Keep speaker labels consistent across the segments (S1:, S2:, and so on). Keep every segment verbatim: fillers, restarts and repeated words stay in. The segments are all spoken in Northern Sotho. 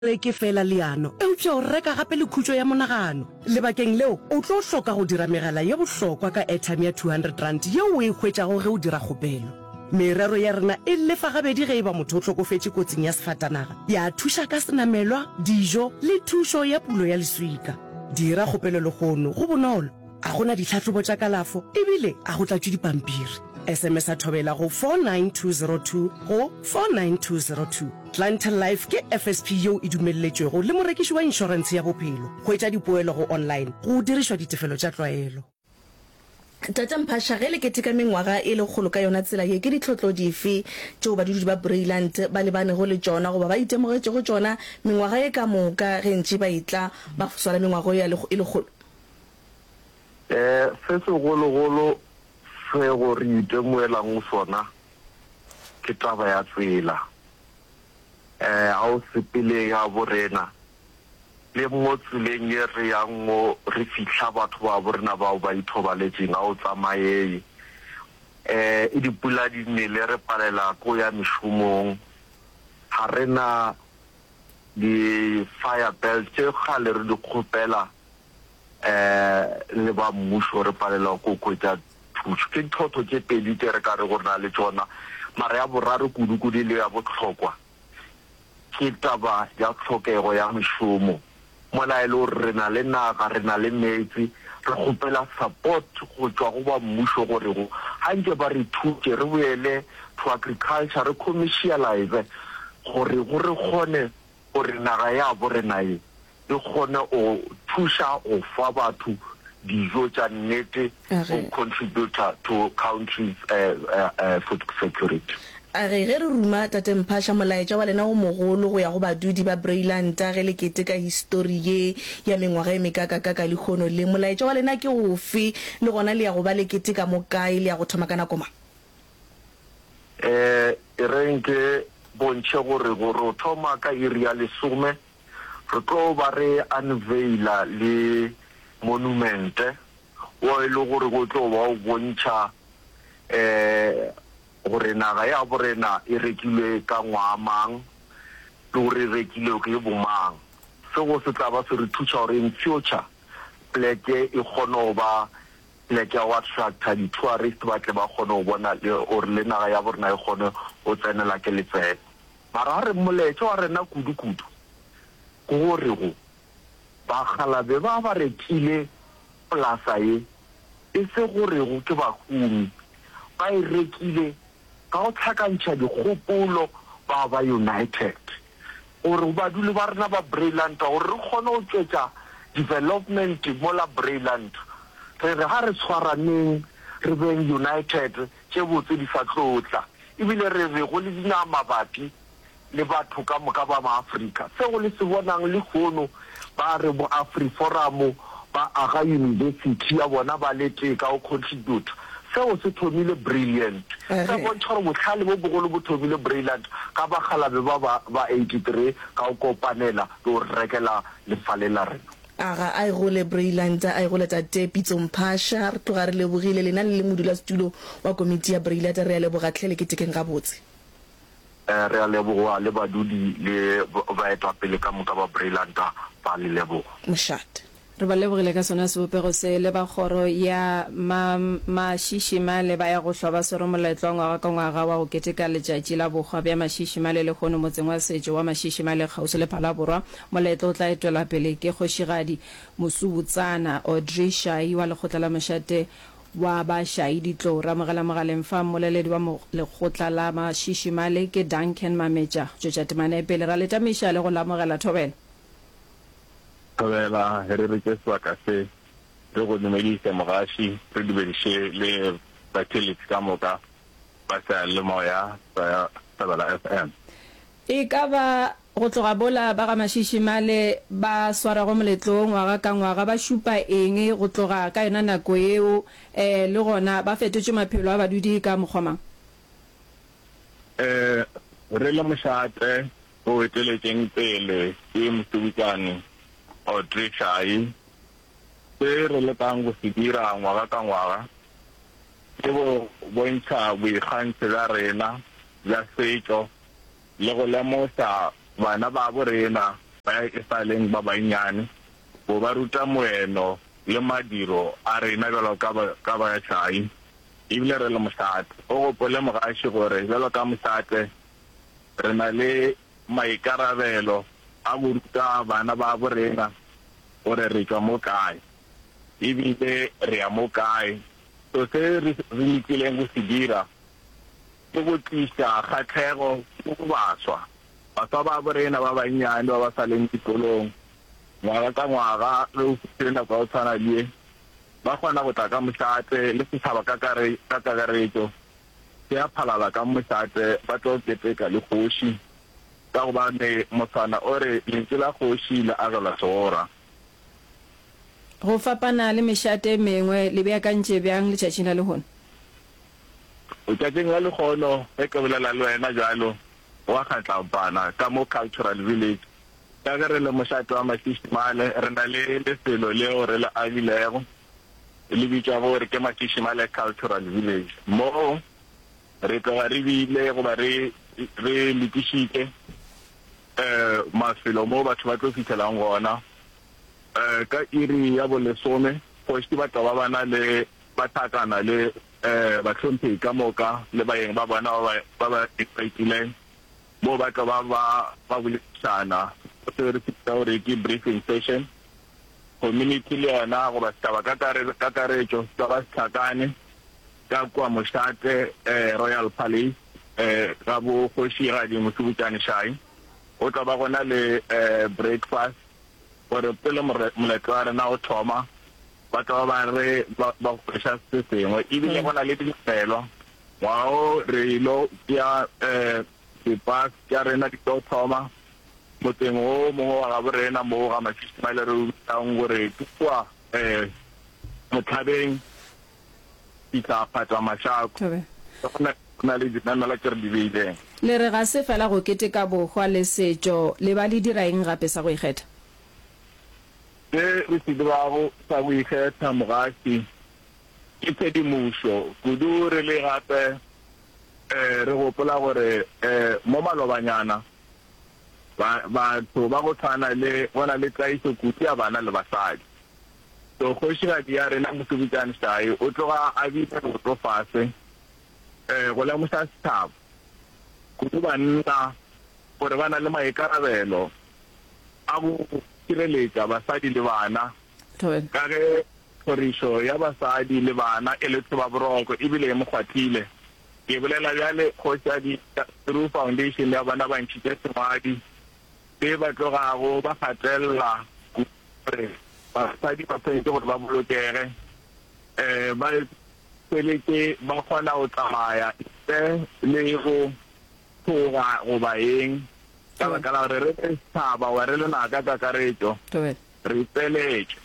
S1: Reke feela leano, eupša o reka gape le khutšo ya monagano. Lebakeng leo, o tlo hloka go dira megala ye bohlokwa ka airtime ya two hundred rand yeo o e hwetšago ge o dira kgopelo. Merero ya rena e lefa gabedi ge e ba motho o hlokofetše kotsing ya sefatanaga, ya thuša ka senamelwa, dijo le thušo ya pulo ya leswika. Dira kgopelo lehono, go bonolo, ga go na ditlhahlobo tša kalafo e bile ga go tlatšwe dipampiri. S M S a Thobela go four nine two zero two go four nine two zero two. Clientele Life ke F S P yeo e dumelletšwego le morekiši wa inšorentshe ya bophelo. Hwetša dipoelo go online go dirišwa ditefelo tša tlwaelo.
S2: Tate Mphasha, ge le keteka mengwaga e lekgolo ka yona tsela ye, ke ditlhotlo dife tšeo badudi ba Braeland ba lebanego le tšona goba ba itemogetšego tšona mengwaga ye ka moka ge ntše ba etla ba swara mengwaga ye e lekgolo?
S3: Um se segologolo sego re itemogelang sona ke taba ya tsela. Um ga o sepele ya borena le mo tseleng ye re yang mo re fihla batho ba borena bao ba ithobaletšeng, ga o tsamaye. Um e dipula di nele, re palela ko ya mešomong, ga re na di-fire belt tše kgale re di kgopela um le ba mmušo, re palelwa ko hwetša thušo. Ke ditlhotlo tše pedi tše re ka re go re na le tšona, mara ya boraro kudu-kudu le ya bohlokwa ke taba ya tlhokego ya mešomo, mola e le gore re na le naga, re na le meetse. Re kgopela support go tšwa go ba mmušo gore go ga nke ba re thutše re boele to agriculture, re commercialize gore go re kgone gore naga ya borena ye e kgone go thuša go fa batho dijo tša nnete, go contributa to country's uh, uh, uh, food security.
S2: A re ge re ruma, Tate Mphasha, molaetša wa lena o mogolo go ya go badudi ba Brailanta ge le keteka histori ye ya mengwaga e mekakakaka lehono le, molaetša wa lena ke ofe, le gona le ya go ba le keteka mo kae, le ya go thoma ka nako mang?
S3: um e reng ke bontšhe gore gore o thoma ka iri ya lesome, re tlo ba re unveila le monumente wo e le gore go tlo ba o bontšha um gore naga ya borena e rekilwe ka ngwaga mang le gore e rekilwe ke bomang. Seo se tla ba se re thuša gore in future pleke e kgone go ba pleke ya go attracta di-tourist, ba tle ba kgone go bona le gore le naga ya borena e kgone go tsenela ke letseno. Mara ga re molaetša wa rena kudu-kudu ke gore go bakgalabe ba ba rekile polasa ye, e se gorego ke bahumi, ba e rekile ka go tlhakantšha dikgopolo, ba ba united, gore baduli ba rena ba Brailanta, gore re kgone go tšwetša development mola Brailanta, re re ga re tshwaraneng, re beng united, tše botse di sa tlo tla. Ebile re re go le dinaga mabapi le batho ka moka ba maAfrika, seo le se bonang lehono ba re bo AfriForum ba aga university ya bona, ba le tee ka go contribute, seo se thomile Brilliant. Se bontšha gore bohlale bo bogolo bo thomile Brilliant ka bakgalabe ba ba ba eighty-three ka go kopanela le go rekela lefale la rena.
S2: Aga a e gole Brailanta, a e gole. Tate Pitso Mphasha, re tloga re lebogile lena le le modulasetulo wa komiti ya Brailata. Re a leboga tlhe, le ketekeng gabotse.
S3: um re a leboga le badudi le baetapele ka moka ba Brailanta, ba le leboga.
S2: Mošate.
S4: Re ba lebogile ka sona sebopego se. Le ba kgoro ya ma Mašišimale ba ya go hlwa ba swere moletlo wa ngwaga ka ngwaga wa go keteka letšatši la bohwa bja Mašišimale lehono motseng wa setšo wa Mašišimale kgauswi le Phalaborwa. Moletlo o tla etwela pele ke kgošigadi Mosubutsana Audrey Shai wa lekgotla la mošate wa Bašai Ditlou. Re amogela mogaleng fa mmoleledi wa lekgotla la Mašišimale ke Duncan Mametša. Tšwetša temane pele ra letamiša le go lamogela. Thobela.
S5: Thobela, re re ke sebaka se re go dumedise mogaši, re dumediše le batheeletši ka moka ba seyalemoya sa Thobela F M.
S4: E ka ba go tloga bola ba ga Mašišimale ba swarago moletlo ngwaga ka ngwaga, ba šupa eng go tloga ka yona nako yeo, um le gona ba fetotše maphelo a badudi ka mokgwa mang?
S5: um re le mošate o eteletšeng pele ke Mosubutsane Audrey Shai, se re lekang go se dira ngwaga ka ngwaga ke go bontšha boikgantšho bja rena bja setšo le go lemoša bana babo rena. ba e sa leng ba bannyane, go ba ruta moeno le madiro a rena bjalo ka ba, ka ba Shai, ebile re le mošate. O gopole mogaši gore bjalo ka mošate re na le maikarabelo a go ruta bana babo rena gore re tšwa mo kae ebile re ya mo kae. So se re, re lekileng go se dira ke go tliša kgahlego go baswa, baswa babo rena ba bannyane ba ba sa leng dikolong. Ngwaga ka ngwaga ge o fihlile nako ya go tshwana le ye, ba kgona go tla ka mošate le setšhaba ka ka kakaretšo se a phalala ka mošate ba tlo keteka le kgoši, ka gobane moswana o re lentšu la kgoši le agelwa segora.
S4: Go fapana le mešate e mengwe, le beakantše bjang letšatšing la lehono?
S5: Letšatšing la lehono, ge ke bolela le wena bjalo, go a kgatlampana ka mo Cultural Village. Ka ge re le mošate wa Mašišimale, re na le lefelo leo re le agilego, le bitšwa gore ke Mašišimale Cultural Village. Moo re tloga re bile goba re re lokišitše um mafelo moo batho ba tlo fihlelang gona. Um ka iri ya bolesome, kgoši ba tla ba ba na le ba hlakana le um bahlomphegi ka moka le baeng ba bona ba ba ba ba moo ba tla ba ba ba boledišana se re se bitsa gore ke briefing session. Community le yona goba setšhaba ka kakaretšo se tla ba se hlakane ka kua mošate eh, Royal Palace eh, ga bo kgošigadi Mošubutšane Shai. Go tla ba gona le eh, breakfast gore pele moletlo wa rena o thoma ba tla ba ba re ba ba hweša se sengwe. Ebile go na le dinamelwa ngwaga o re ilo tšea um di-bus tša rena di tlo thoma motseng o mongwe wa gabo rena mo ga Mašišimale re o bitsang gore ke kua um Motlhabeng fihla Phatwa Mašako.
S4: Thobela.
S5: Go na le dinamelwa tše re di beileng.
S4: Le re ga se fela go keteka bohwa le setšo, le ba le dira eng gape sa go ikgetha?
S5: Se re se dirago sa go ikgetha, mogaši, ke tshedimošo kudu re le gape re gopola gore mo malobanyana ba batho ba go tshwana le go na le tlaišo kudu ya bana le basadi. So kgošigadi ya rena Mosobutšane Shai o tloga a bile leoto fase go lemoša setšhaba kudu banna gore ba na le maikarabelo a go šireletša basadi le bana ka ge tlhorišo ya basadi le bana e le thobaboroko ebile e mo kgwathile. Ke bolela bjale kgošadi through foundation ya bona ba ntšhitše sengwadi se ba tlogago ba gatelela kudu gore basadi ba swanetše gore ba bolokege, um ba hweletše ba kgona go tsamaya ntle le go tšhoga goba eng, ka baka la gore re le setšhaba goba re le naga ka kakaretšo re ipeletše.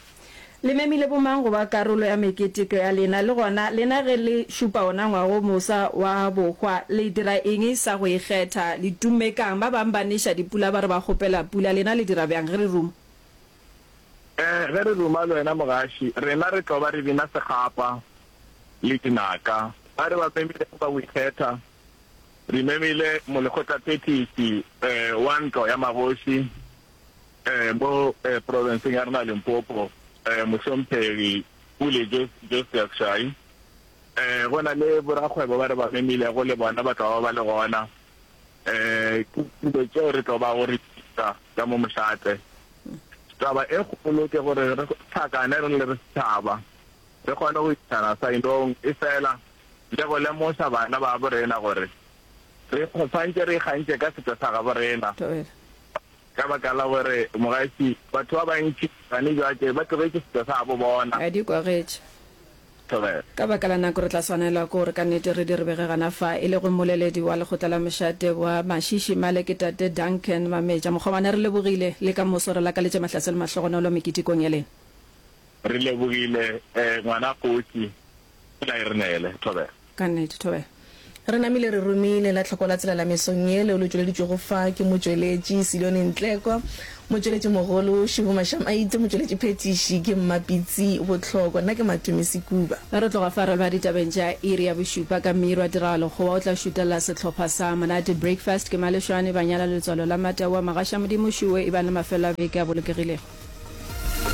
S4: Le memile bomang go ba karolo ya meketeko ya lena? Le gona, lena ge le šupa wona ngwaga o mofsa wa bohwa, le dira eng sa go ikgetha? Le tumme ka'ng? Ba bang ba neša dipula ba re ba kgopela pula, lena le dira bjang ge re ruma?
S5: Ee, ge re ruma le wena mogaši, rena re tlo ba re bina sekgapa le dinaka. Ba re ba memilego ba go ikgetha, re memile molekgotlaphethiši wa ntlo ya magoši mo profenseng ya rena Limpopo, Mohlomphegi Pule Josias Shai. Go na le borakgwebo ba re ba memilego le bona ba tlo ba ba le gona. Ke dilo tšeo re tlo bago re di dira ka mo mošate. Taba e kgolo ke gore re hlakane re le re setšhaba, re kgone go išana saenong, efela le go lemoša bana babo rena gore re swantše re ikgantše ka setšo sa gabo rena. Ka baka la gore mogaši, batho ba bantši gane bjake ba tlogetše setšo sa gabo bona.
S4: A di kwagetše.
S5: Thobela.
S4: Ka baka la nako re tla swanelwa ke gore ka nnete re di re bege gana fa, e lego mmoleledi wa lekgotla la mošate wa Mašiši Male ke Tate Duncan Mametja. Mokgomana re lebogile, le ka moso re lakaletše mahlatse le mahlogonolo meketekong ya lena.
S5: Re lebogile ngwana kgoši, pula e re nele. Thobela.
S4: Ka nnete. Thobela.
S2: Re namile re romile la tlhoko la tsela la mesong ye, leo le tšweleditšwego fa ke motšweletši Silione Ntleko. Motšweletšimogolo Šibu Mašamaite, motšweletšiphethiši ke Mmapitsi Bohlokwa, nna ke Matome Sekuba.
S4: Re tloga fa re leba ditabeng tša iri ya bošupa ka Mmirwa Tiragalo Kgowa o tla šutelela sehlopha sa Monate Breakfast ke Malešwane Banyala Letswalo la Mataua Magaša Modimo Šuwe Ebang le mafelo a beke a bolokegilego.